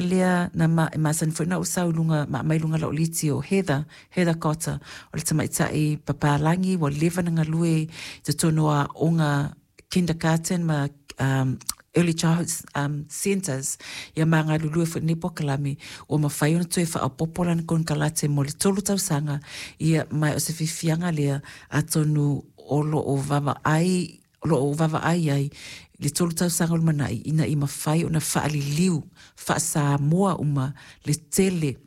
Lea na ma, e masani foi ona ou sau i luga, ma aumai i luga o lau liti o Heather, Heather Cotter, o le tamaitai papalagi ua leva ona galue i totonu o aoga kindergarten ma um, early childhood um, centres, ia ma galulue foi i lenei polokalame, ua mafai ona toe faaopoopo lana konekarate mo le tolu tausaga, ia, ma o se fiafiaga lea, atonu o lo o vaavaai o lo o vaavaai ai le tolu tausaga o lumanai ina ia mafai ona faaliliu faa-Samoa uma le tele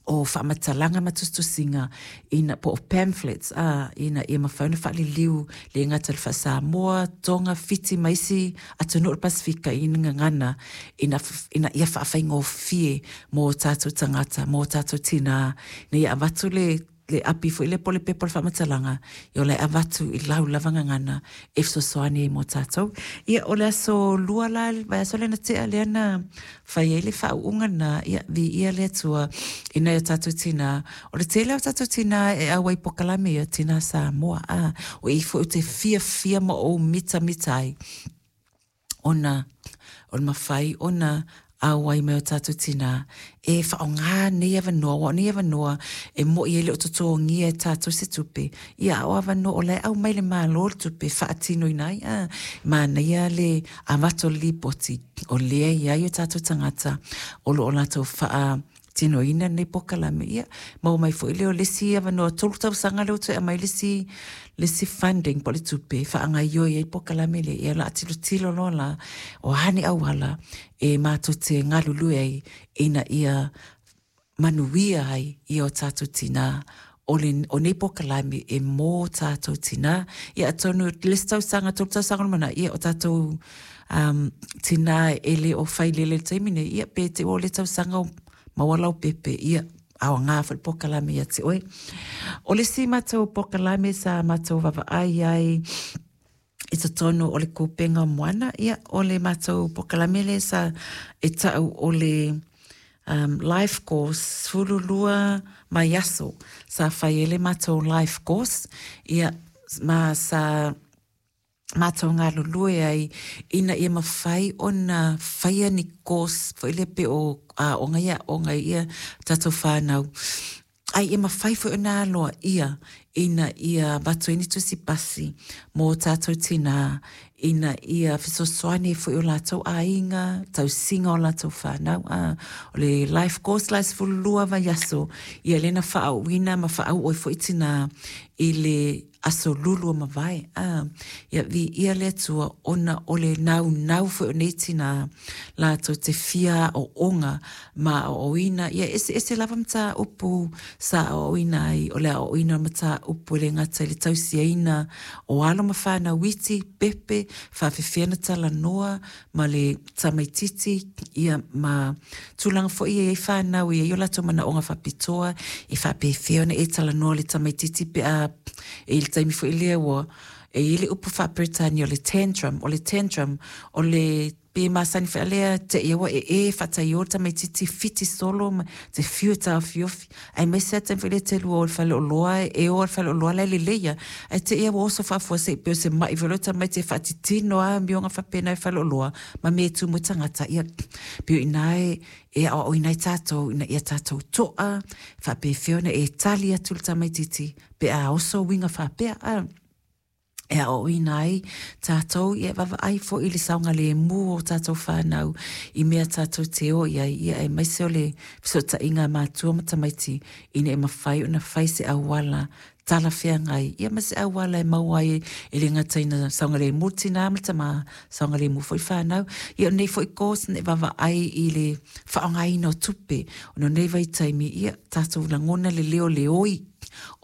o faamatalaga ma tusitusiga ina po o pamphlets a ina ia mafai ona faaliliu le gata i le faa-Samoa, Tonga, Fiti ma isi atunuu o le Pasefika i ni gagana ina, ina ia faafaigofie mo tatou tagata, mo tatou tinā, ina ia avatu le le api foi lea po o le pepa o le faamatalaga, ia o la e avatu i lau lava gagana e fesoasoani ai mo tatou. Ia, o le aso lua la, le vaiaso lea na tea lea na fai ai le faauuga lena, ia, viia le Atua i nai o tatou tinā. O le tele o tatou tinā e auai i polokalame ia, tinā Samoa, a, o i foi ou te fiafia ma ou mitamita ai ona o le mafai ona auai mai o tatou tinā e faaaoga nei avanoa, aua o nei avanoa e moni e le o totogia e tatou se tupe, ia a o avanoa o la e aumai e le Malo le tupe e faatinoina ai, a, manaia le avatu o le lipoti o lea e i ai o tatou tagata o lo o latou faa tinoina lenei polokalame, ia, maua mai foi lea o le isi avanoa tolu tausaga lea ua toe aumai le isi, le isi funding po o le tupe e faagaoioi ai le polokalame lea. Ia o le a tilotilo loa la, o a ni auala e matou te galulue ai ina ia manuia ai ia o tatou tinā. O, le, o nei polokalame e mō tātou tinā. Ia atonu le isi tausaga, tolu tausaga o lumanai, ia o tātou um, tinā e le o failele i le taimi nei, ia pe te ua o le tausaga o maua lau pepe, ia aoga foi le polokalame ia te oe. O le isi matou polokalame sa matou vaavaai ai i totonu o le kupenga o Moana, ia, o le matou polokalame lea sa e ta'u o le um, life course, 12 vaiaso sa fai ai le matou life course, ia, ma sa matou galulue ai ina ia mafai ona faia ni course foi lea pei o aoga ia e aoga ai ia tatou fanau, a ia mafai foi ona aloaia ina ia avatu ai ni tusi pasi mō tātou tinā ina ia fesoasoani ai foi o latou aiga, tausiga o latou whānau. A, o le life course la e 12 vaiaso, ia lea na faaauina ma faauu ai foi tinā i le aso lulu ua mavae, a, ia viia le Atua ona o le naunau foi o nei tinā latou te fia aoaoga ma aoaoina, ia eseese lava mataupu sa aoaoina ai, o le aoaoina o mataupu e le gata i le tausiaina o alo ma fanau iti, pepe, faafefea ona talanoa ma le tamaititi, ia, ma tulaga foi e i ai fanau e i ai o latou manaoga faapitoa, e faapefea ona e talanoa i le tamaititi pe a e i le taimi foi lea ua e i ai le upu faa-Peretania o le tantrum, o le tantrum, o le pe masani foi a lea te ia ua ee faataiō le tamaititi fiti solo ma te fiu e taofiofi, aemaise lava taimi foi lea e te lua o i le faleoloa, e o lava i le faleoloa la e lelei lava, ae te i lava ua oso faafuasei pei o se mai foi lea o tamaiti e faatitino lava amioga faapena i le faleoloa ma mea e tumu ai tagata. Ia, pei o i ina e e aoaoina ai tatou ina ia tatou to'a, faapefea ona e tali atu i le tamaititi pe a oso uiga faapea, a. E aoaoina ai tatou, ia e vaavaai foi i le saogalemu o tatou fanau i mea tatou te o i ai, ia aemaise o le fesootaiga a matua ma tamaiti ina ia mafai ona fai se auala talafeagai, ia ma se auala e maua ai e le gata ina saogalemu le tinā ma le tamā, saogalemu foi le fanau. Ia o lenei foi course e vaavaai i le faaaogaina o tupe, ona o lenei vaitaimi, ia tatou lagona le leo o le oi,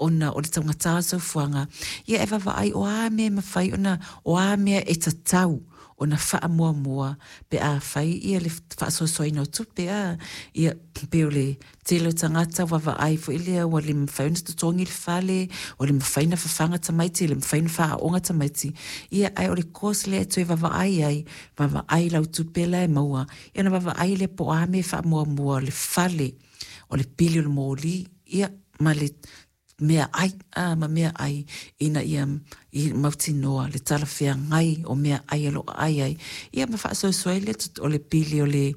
ona o le taugata o le soifuaga, ia e vaavaai o a mea e mafai ona, o a mea e tatau ona faamuamua pe a fai ia le faasoasoaina o tupe, a, ia, pei o le tele o tagata ua vaavaai foi lea ua le mafai ona totogi le fale, ua le mafai ona fafaga tamaiti, le mafai ona faaaooga tamaiti, ia, ae o le course lea e toe vaavaai ai, vaavaai i lau tupe la e maua, ia ona vaavaai lea po o a mea e faamuamua, o le fale, o le pili o le moli, ia, ma le meaai, a, ma meaai ina ia i mautinoa le talafeagai o meaai o lo o aai ai, ia ma faasoasoa ai le o le pili o le